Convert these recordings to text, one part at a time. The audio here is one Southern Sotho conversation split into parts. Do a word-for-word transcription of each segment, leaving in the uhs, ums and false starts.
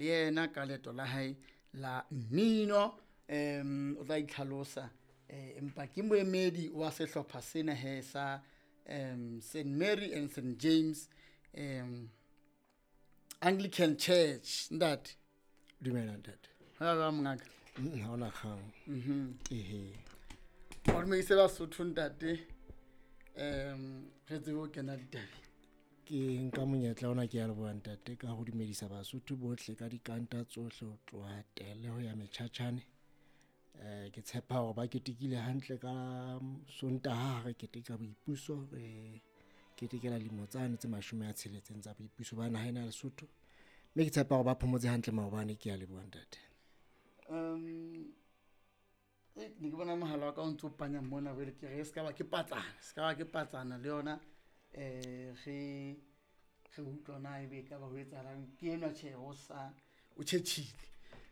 le yena ka leeto la hae la mmino. Um o tla itlhalosa, eh, empa ke moemedi wa sehlopha sena he sa um Saint Mary and Saint James um Anglican Church. Ntate, Dumela, ntate. Ha jwang, mongaka? Mm, ha hona kgang. Mhm. Ehe. O dumedise Basotho, ntate, um re tsebe ho kena ditabeng. Ke nka monyetla ona, ke ya leboha, ntate, ka ho dumedisa Basotho bohle ka dikanta tsohle ho tloha Tele ho ya Metjhatjhane. Eh ke tshepa hore ba ketekile hantle ka Sontaha ha re keteka boipuso, re ketekela lemo tsane tse mashome a tsheletseng tsa boipuso ba naha ena ya Lesotho. Mme ke tshepa hore ba phomotse hantle maobane. Ke ya leboha, ntate. um e ne ke bona mohala wa ka o ntso panya mona, jwale ke re se ka ba ke patsana, se ka ba ke patsana le yona. um re re utlwa na ebe e ka ba ho etsahalang. Ke enwa, tjhe, o sa o tjhetjhile.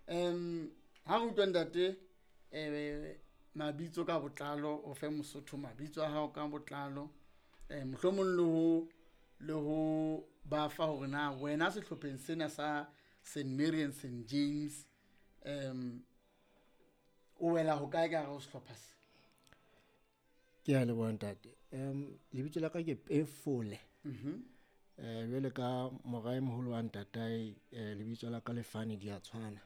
um ha re utlwa, ntate, um mabitso ka botlalo, o fe Mosotho mabitso a hao ka botlalo, um mohlomong le ho le ho ba fa hore na wena sehlopheng sena sa Saint Mary and Saint James um o wela ho kae ka hare ho sehlopha se? Ke ya leboha, ntate. um lebitso la ka ke Pefole. Mhm. eh jwale ka mora e moholo wa ntatae, eh, lebitso la ka le Fane di a tshwana.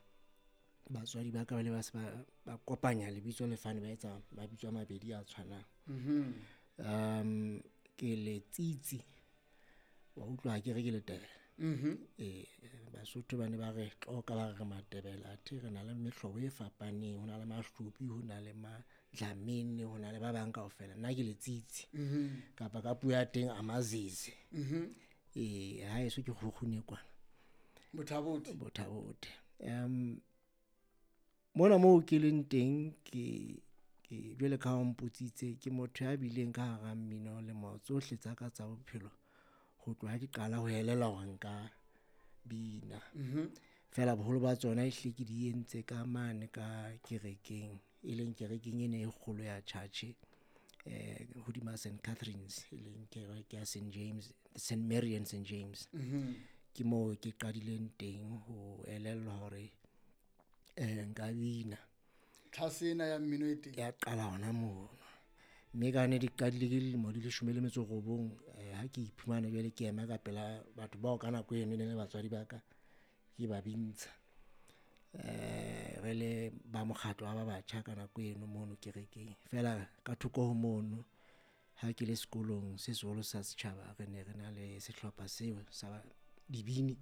Batswadi ba ka ba le ba se ba ba kopanya lebitso le Fane, ba etsa mabitso a mabedi a tshwanang. Mhm. um ke Letsitsi, wa utlwa ha ke re ke Letebele. Mhm. Eh basotho ba ne ba re tloka, ba re re Matebele, athe re na le mehlobo e fapaneng, ho na le Mahlubi, ho na le Madlamini, ho na le ba bang kaofela. Nna ke Letsitsi. Mhm. Kapa ka puo ya teng, Amazizi. Mhm. Eh ha eso ke Kgukgune kwana. Bothabote. Bothabote. um mona moo ke leng teng, ke ke jwale ka ha o mpotsitse, ke motho ya bileng ka hara mmino lemo tsohle tsa ka tsa bophelo, ho tloha ke qala ho elellwa hore nka bina. Mhm. Feela boholo ba tsona ehlile ke di entse ka mane ka kerekeng, e leng kerekeng ena e kgolo ya church eh hodima Saint Catherine's, e leng kereke ya Saint James, Saint Mary and Saint James. Mhm. Ke moo ke qadileng teng ho elellwa hore eh nka bina. Tlhase ena ya mmino e teng ya qala hona mono, mme ka ne di qadile ke dilemo di leshome le metso robong, eh ha ke iphumana jwale ke ema ka pela batho bao ka nako eno e ne le batswadi ba ka, ke ba bintsha, eh re le ba mokgatlo wa ba batjha ka nako eno mono kerekeng. Feela ka thoko ho mono, ha ke le sekolong se seholo sa setjhaba, re ne re na le sehlopha seo sa dibini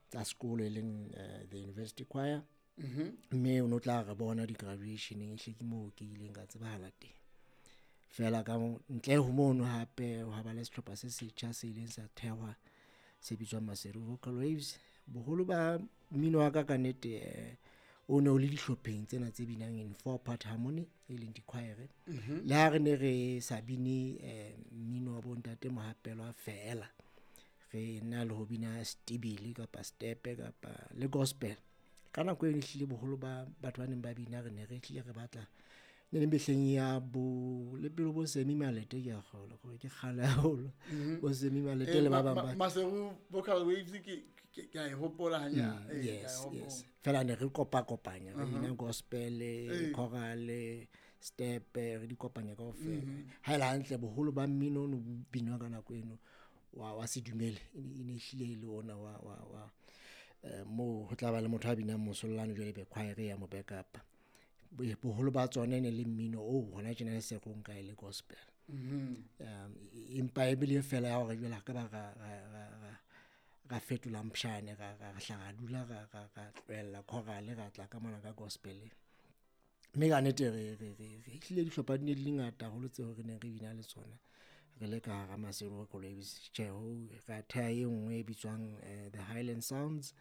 tsa sekolo, e leng eh, the university choir. Mhm. Mme o no tla re bona di-graduationeng, ehle ke moo ke ileng ka tsebahala teng. Feela ka mo- ntle ho mono, hape hwa ba le sehlopha se setjha se ileng sa thehwa se bitswang Maseru Vocal Waves. Boholo ba mmino wa ka, ka nnete, eh, o ne o le dihlopheng tsena tse binang in four part harmony, e leng di-choir. Mhm. Le ha re ne re sa bine eh, mmino wa bontate Mohapelwa, feela re na le ho bina stebele kapa stepe kapa le gospel. Ka nako eno ehlile boholo ba batho ba neng ba bina, re ne re hlile re batla ne le mehleng ya bo le pele bo Semi Malete, ke a kgolwa gore ke kgale haholo, Mhm. bo Semi Malete Eh, le ba ma- bang ma- ba Maseru Vocal Waves, ke ke ke a e hopola hanyane. Mm, Eh, ke a e yes hopola. Yes, fela ne re kopa kopanya, re bina gospel, Eh. choral, step, re di kopanya kaofela. Ha ele hantle, boholo ba mmino o no binwa ka nako eno wa wa sedumele e ne e ne hlile e le ona wa wa wa eh, moo ho tla ba le motho a binang mosollano, jwale be choir ya mo backup. Bo- boholo ba tsona e ne le mmino o hona tjena le se re o nka e le gospel. Mhm. um empa ebile fela ya hore jwale ha ka ba ra ra ra ra ra fetola mpshane, ra ra ra hla ra dula, ra ra ra tlohella choral, ra tla ka mona ka gospel. Mme ka nnete re re re re hlile dihlopha di ne di le ngata haholo tseo re neng re bina le tsona re le ka hara Maseru Vocal Waves. Tjhe, ho ra theha e nngwe e bitswang eh, the Highland Sounds,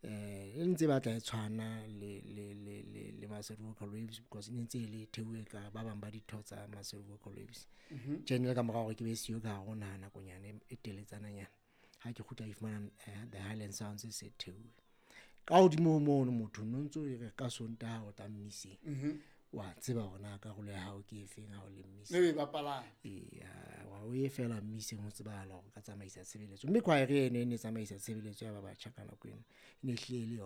eh e ntse e batla e tshwana le le le le le Maseru Vocal Waves, because e ne ntse e le theuwe ka ba bang ba ditho tsa Maseru Vocal Waves. Mhm. Tjhe, ne le ka morao hore ke be siyo ka hare ho naha nakonyana e e teletsananyana, ha ke kgutla ke fumana eh, the Highland Sounds e se theuwe. Ka hodimo ho mono, motho no ntso e re ka Sontaha o tla mmiseng, Mhm. wa tseba hore na karolo ya hao ke efeng ha o le mmiseng. Mme o e bapalang. Eya, wa o ye fela mmiseng ho tsebahala hore o ka tsamaisa tshebeletso, mme choir eno e ne e tsamaisa tshebeletso ya ba batjha ka nako eno, e ne hlile e le yona.